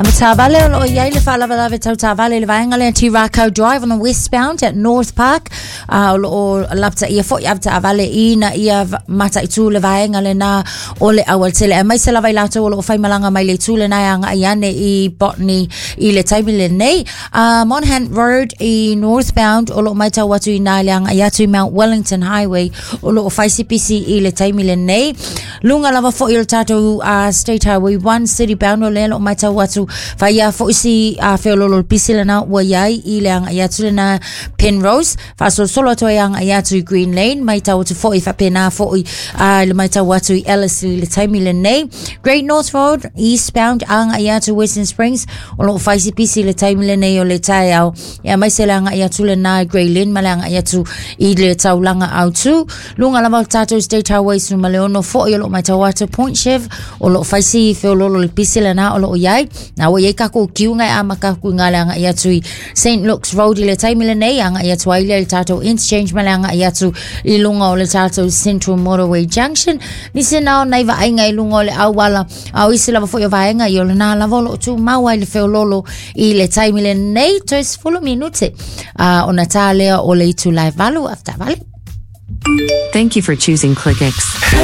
Avetaavale o loo i ai le faalavelave tau taavale i le vaega lea Ti Rakau Drive on the westbound at North Park. O loo lapataia foi avetaavale ina ia mataitu le vaega lena o le aualatele. Aemaise lava i latou o loo faimalaga mai le itu lena e agai ane i Botany i le taimi lenei. Monaghan Road i northbound o loo matau atu i ina le agai atu i Mount Wellington Highway o loo fai si pisi i le taimi lenei. Luga lava foi o le tatou State Highway 1 City Bound o lea o loo matau atu fai a foi si feololo le pisi lena ua iai i le agai atu lena Penrose faasolosolo atu ai agai atu i Green Lane matau atu foi faapena foi le matau atu i Ellerslie i le taimi lenei. Great North Road eastbound agai atu Western Springs o loo fai si pisi i le taimi lenei o le taeao e aemaise le agai atu lena i Grey Lynn ma le agai atu i le taulaga autu. Luga lava o le tatou State Highway 16 foi o loo matau atu Point Chev o loo fai si feololo le pisi lena o loo iai. Na ua iai takou kiuga e amata atu i le agai atu i St. Luke's Road i le taimi lenei agai atu ai lea i le tatou interchange ma le agai atu i luga o le tatou Central Motorway Junction. Nisi na o nai vaaiga i luga o le auala a o isi lava foi o vaega i o lena lava o loo tumau ai le feololo i le taimi lenei toe 10 minute ona tā lea o le itula e 8 avetaavale. Thank you for choosing ClickX.